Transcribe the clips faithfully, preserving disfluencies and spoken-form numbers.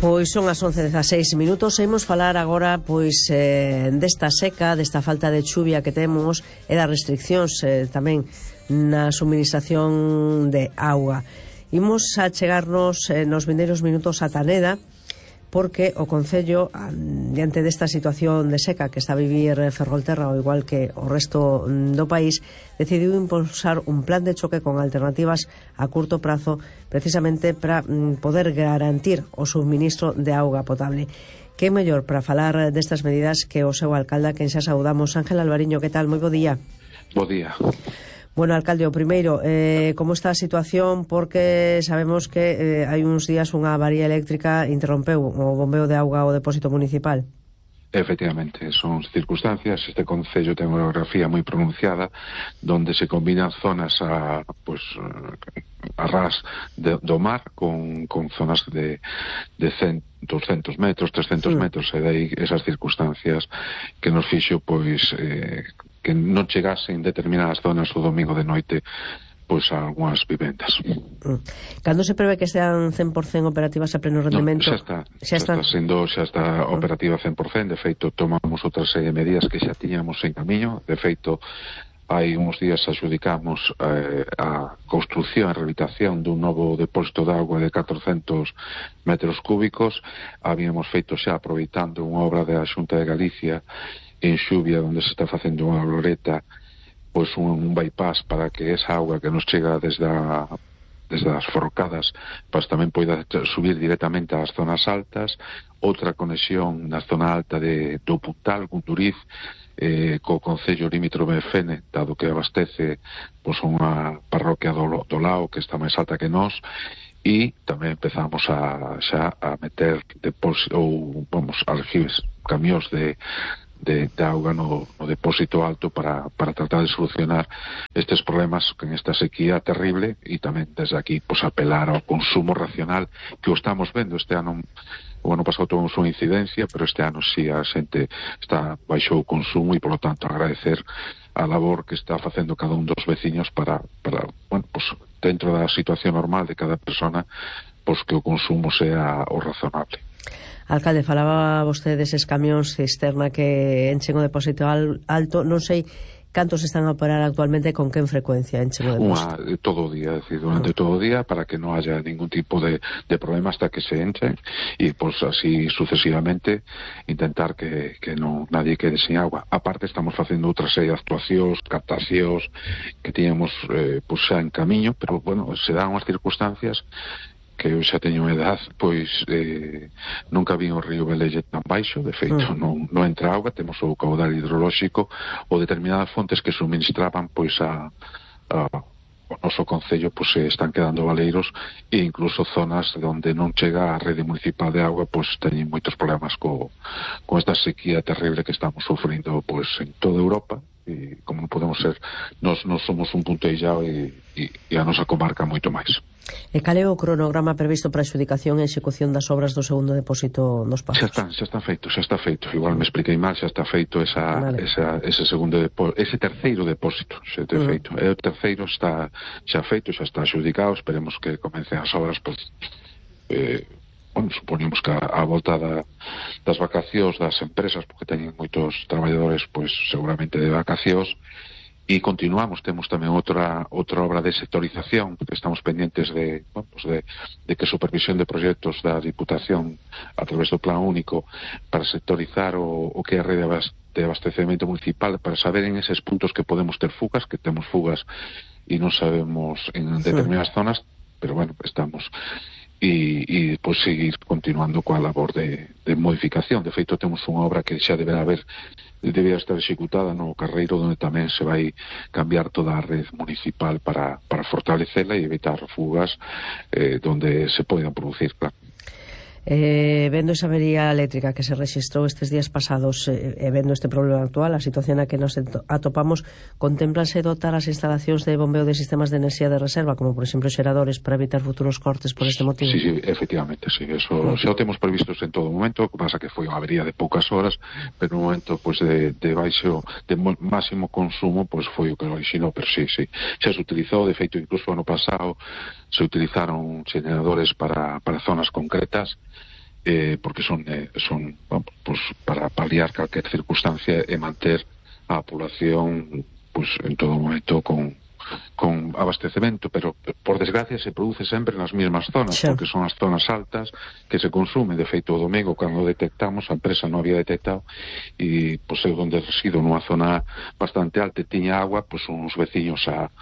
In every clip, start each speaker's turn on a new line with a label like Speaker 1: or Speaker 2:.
Speaker 1: Pois son as once e dezaseis minutos e imos falar agora pois eh, desta seca, desta falta de chuvia que temos e das restriccións eh, tamén na suministración de auga. Imos a chegarnos eh, nos vindeiros minutos a Taneda, porque o Concello, diante desta situación de seca que está a vivir Ferrolterra, ao igual que o resto do país, decidiu impulsar un plan de choque con alternativas a curto prazo, precisamente para poder garantir o suministro de auga potable. Que mellor para falar destas medidas que o seu alcalde, a quen xa saudamos. Ángel Alvariño, que tal? Moi bo día.
Speaker 2: Bo día.
Speaker 1: Bueno, alcalde, o primeiro, eh, como está a situación? Porque sabemos que eh, hai uns días unha avaría eléctrica interrompeu o bombeo de auga ao depósito municipal.
Speaker 2: Efectivamente, son circunstancias. Este concello ten unha geografía moi pronunciada, donde se combinan zonas a, pues, a ras de, do mar con, con zonas de, de cen, doscientos metros, trescientos metros, e dai esas circunstancias que nos fixo, pois, eh, que non chegasen determinadas zonas o domingo de noite pois a algunhas vivendas.
Speaker 1: Cando se prevé que sean cen por cento operativas a pleno rendemento?
Speaker 2: No, xa está, xa, xa está sendo, xa está operativa cen por cento. De feito, tomamos outra serie de medidas que xa tiñamos en camiño. De feito, hai uns días adjudicamos eh, a construcción e rehabilitación dun novo depósito de auga de catrocentos metros cúbicos. Habíamos feito xa, aproveitando unha obra da Xunta de Galicia en Xuvia, onde se está facendo unha gloreta, pois un, un bypass para que esa auga que nos chega desde, a, desde as forcadas pois tamén poida subir directamente ás zonas altas. Outra conexión na zona alta de do Putal, Gunduriz, eh, co Concello limítrofe de Fene, dado que abastece pois unha parroquia do, do Lao que está máis alta que nós. E tamén empezamos a xa a meter depósito, ou vamos, aljibes, camións de De, de auga no, no depósito alto para, para tratar de solucionar estes problemas en esta sequía terrible, e tamén desde aquí pues, apelar ao consumo racional que o estamos vendo este ano. O ano pasado tuvemos unha incidencia, pero este ano sí a xente está baixou o consumo, e por lo tanto agradecer a labor que está facendo cada un dos veciños para, para bueno, pues, dentro da situación normal de cada persona, pues, que o consumo sea o razonable.
Speaker 1: Alcalde, falaba vostede deses camións cisterna que enchen o depósito alto. Non sei cantos están a operar actualmente, con quen frecuencia enchen o depósito.
Speaker 2: Unha, todo o día, é dicir, durante uh-huh. todo o día, para que non haya ningún tipo de, de problema hasta que se enchen, e pues así sucesivamente intentar que, que non nadie quede sin agua. Aparte estamos facendo outra serie de actuacións, captacións que tiñamos eh, pues, xa en camiño, pero bueno, se dan unhas circunstancias que eu xa teño edad, pois eh, nunca vi o río Velelle tan baixo. De feito, uh. non, non entra auga, temos o caudal hidrolóxico ou determinadas fontes que suministraban pois a, a o noso concello, pois se están quedando baleiros, e incluso zonas onde non chega a rede municipal de auga, pois teñen moitos problemas co, con esta sequía terrible que estamos sufrindo pois en toda Europa. E como non podemos ser, nós, nós somos un punto illado, e, e, e a nosa comarca moito máis.
Speaker 1: E cal é o cronograma previsto para a adxudicación e execución das obras do segundo depósito nos Pazos?
Speaker 2: Xa están, xa está feito, xa está feito. Igual me expliquei mal, xa está feito esa, vale. esa, ese segundo depósito, ese terceiro depósito, xa está uh -huh. feito. E o terceiro está xa feito, xa está adxudicado. Esperemos que comecen as obras, pues, eh, bueno, supoñemos que a, a volta da, das vacacións das empresas, porque teñen moitos traballadores, pois seguramente de vacacións. E continuamos, temos tamén outra outra obra de sectorización, porque estamos pendientes de, bueno, pues de, de que supervisión de proxectos da Diputación a través do Plan Único para sectorizar o, o que é a rede de abastecemento municipal, para saber en eses puntos que podemos ter fugas, que temos fugas e non sabemos en determinadas zonas, pero bueno, estamos. E, e pois seguir continuando coa labor de, de modificación. De feito, temos unha obra que xa deberá haber debería estar executada no Carreiro, onde tamén se vai cambiar toda a rede municipal para, para fortalecela e evitar fugas eh, donde se poidan producir, claro.
Speaker 1: Eh, vendo esa avería eléctrica que se registrou estes días pasados e eh, vendo este problema actual, a situación na que nos atopamos, contemplanse dotar as instalacións de bombeo de sistemas de enerxía de reserva, como por exemplo xeradores, para evitar futuros cortes por este motivo?
Speaker 2: Sí, sí, efectivamente, sí, eso uh -huh. xa o temos previstos en todo momento. O que pasa que foi unha avería de poucas horas, pero no momento pues, de, de baixo, de máximo consumo, pues foi o que lo orixinou, pero sí, sí, xa se utilizou. De feito, incluso ano pasado se utilizaron generadores para, para zonas concretas, eh, porque son, eh, son bueno, pues, para paliar calquer circunstancia e manter a población pues, en todo momento con, con abastecemento, pero por desgracia se produce sempre nas mesmas zonas, sí. Porque son as zonas altas que se consume. De feito, o domingo, cando detectamos, a empresa non había detectado, e pues, eu donde resido nunha zona bastante alta e tiña agua, pues uns veciños a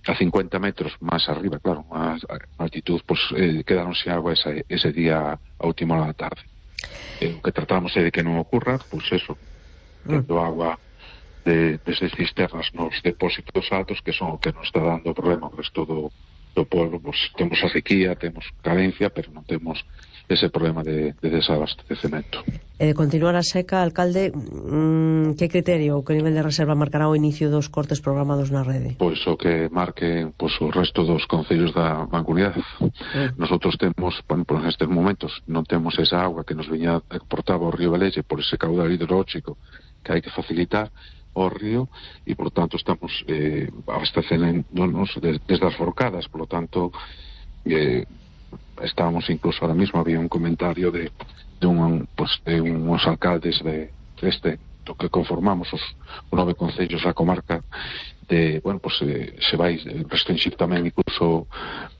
Speaker 2: a cincuenta metros máis arriba, claro, a altitud, pues, eh, quedaron sin agua ese, ese día a última hora da tarde. Eh, o que tratamos é de que non ocurra, pues eso, tendo agua de, desde cisternas nos depósitos altos, que son o que nos está dando problema ao resto do, do pueblo. Pues temos a sequía, temos carencia, pero non temos ese problema de, de desabastecemento.
Speaker 1: Eh, continuar a seca, alcalde, mmm, que criterio ou que nivel de reserva marcará o inicio dos cortes programados na rede?
Speaker 2: Pois o que marque pois, o resto dos concellos da Mancomunidade. Mm. Nosotros temos, bueno, por nestes momentos non temos esa agua que nos viña portaba o río Velelle por ese caudal hidrolóxico que hai que facilitar ao río, e por tanto estamos eh, abastecéndonos desde as forcadas, por lo tanto eh, estábamos incluso ahora mismo, había un comentario de, de, un, pues, de unos alcaldes de, de este, do que conformamos os, os nove concellos da comarca, de, bueno, pues eh, se vai restringir tamén incluso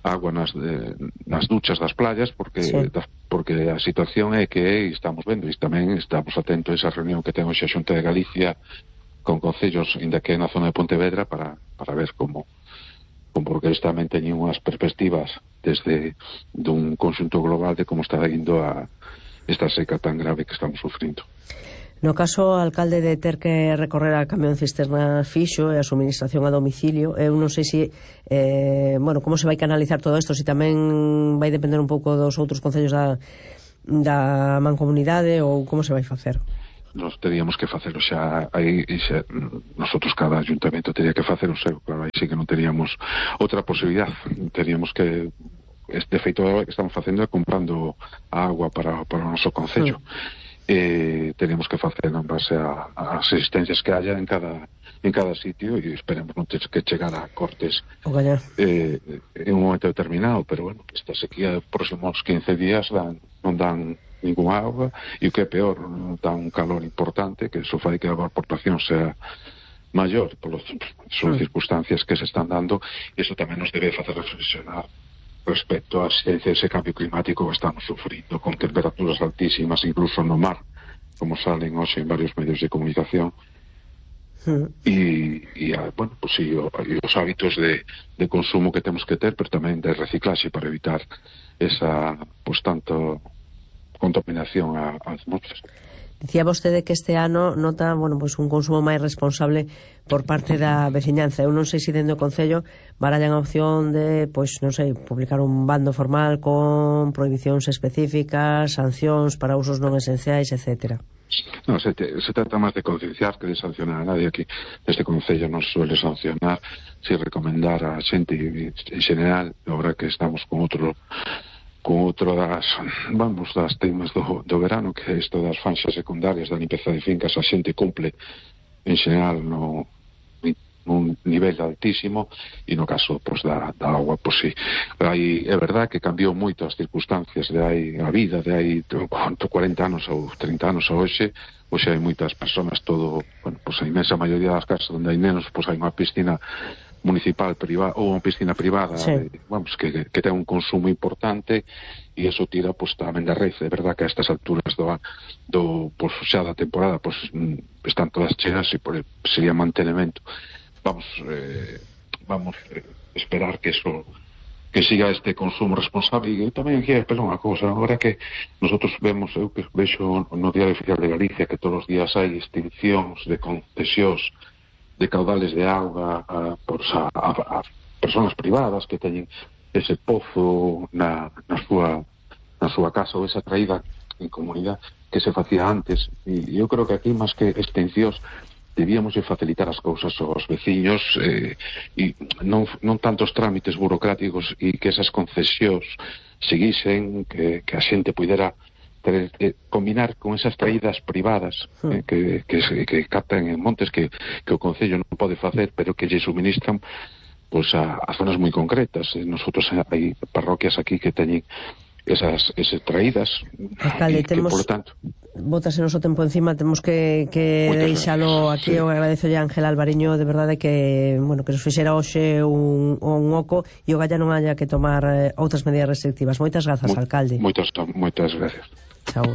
Speaker 2: agua nas, de, nas duchas das playas, porque sí. da, porque a situación é que é, e estamos vendo, e tamén estamos atentos a esa reunión que ten hoxe a Xunta de Galicia con concellos, inda que na zona de Pontevedra, para, para ver como porque eles tamén teñen unhas perspectivas desde dun conxunto global de como está indo a esta seca tan grave que estamos sufrindo.
Speaker 1: No caso, alcalde, de ter que recorrer a camión cisterna fixo e a suministración a domicilio, eu non sei se eh, bueno, como se vai canalizar todo isto, se tamén vai depender un pouco dos outros concellos da, da mancomunidade, ou como se vai facer?
Speaker 2: Nos teríamos que facelo xa aí, xa, nosotros cada ayuntamento teria que facer o seu, claro, aí sí que non teríamos outra posibilidad, teríamos que este feito que estamos facendo é comprando a agua para, para o noso concello. Sí. Eh, teríamos que facer en base a, a as existencias que haya en cada en cada sitio, e esperemos non ter que chegar a cortes eh, en un momento determinado, pero bueno, esta sequía dos próximos quince días dan, non dan ninguna agua, e o que é peor, dá un calor importante que eso fai que a aportación sea maior, por son sí. circunstancias que se están dando, e eso tamén nos debe facer reflexionar respecto á asistencia ese cambio climático que estamos sufrindo, con temperaturas altísimas incluso no mar, como salen hoxe en varios medios de comunicación. E, e bueno, pues sí, o, e os hábitos de, de consumo que temos que ter, pero tamén de reciclaxe para evitar esa, pues tanto contaminación a, a atmósfera.
Speaker 1: Dicía vostede que este ano nota, bueno, pues un consumo máis responsable por parte da veciñanza. Eu non sei se dentro do Concello barallan a opción de, pois, non sei, publicar un bando formal con prohibicións específicas, sancións para usos non esenciais, etcétera.
Speaker 2: No, se, te, se trata máis de concienciar que de sancionar a nadie. Aquí este Concello non suele sancionar, si recomendar a xente en general, agora que estamos con outro con outro das, vamos, das temas do, do verano, que é isto das fanxas secundarias da limpeza de fincas, a xente cumple en general no nun nivel altísimo, e no caso pues, da, da agua, pues sí, aí é verdad que cambiou moito as circunstancias de aí, a vida de aí cuarenta anos ou trinta anos a hoxe. Hoxe hai moitas persoas, todo, bueno, pues a inmensa maioría das casas onde hai nenos, pues hai unha piscina municipal privada ou unha piscina privada, sí. de, vamos, que, que ten un consumo importante, e eso tira pues, tamén da rede. É verdad que a estas alturas do, do pues, xa da temporada pues, están todas cheas, e por sería mantenimento. Vamos eh, vamos eh, esperar que eso que siga este consumo responsable. E tamén aquí é unha cousa, agora que nosotros vemos, eu que vexo no Diario Oficial de Galicia que todos os días hai extincións de concesións de caudales de auga a, a, a, a personas privadas que teñen ese pozo na, na, súa, na súa casa, ou esa traída en comunidade que se facía antes. E eu creo que aquí, máis que extincións, debíamos de facilitar as cousas aos veciños, eh, e non, non tantos trámites burocráticos, e que esas concesións seguisen, que, que a xente pudera ter, eh, combinar con esas traídas privadas eh, que, que, que captan en montes que, que o Concello non pode facer, pero que lle suministran pues, a, a zonas moi concretas. Eh, nosotros hai parroquias aquí que teñen esas, esas traídas.
Speaker 1: Alcalde,
Speaker 2: que,
Speaker 1: temos...
Speaker 2: que, por tanto,
Speaker 1: botas o noso tempo encima, temos que, que deixalo aquí. Sí. Eu agradezo a Ángel Alvariño, de verdade que, bueno, que nos fixera hoxe un, un oco e o Galla non haya que tomar eh, outras medidas restrictivas. Moitas grazas,
Speaker 2: Mo,
Speaker 1: alcalde.
Speaker 2: Moitas, moitas gracias.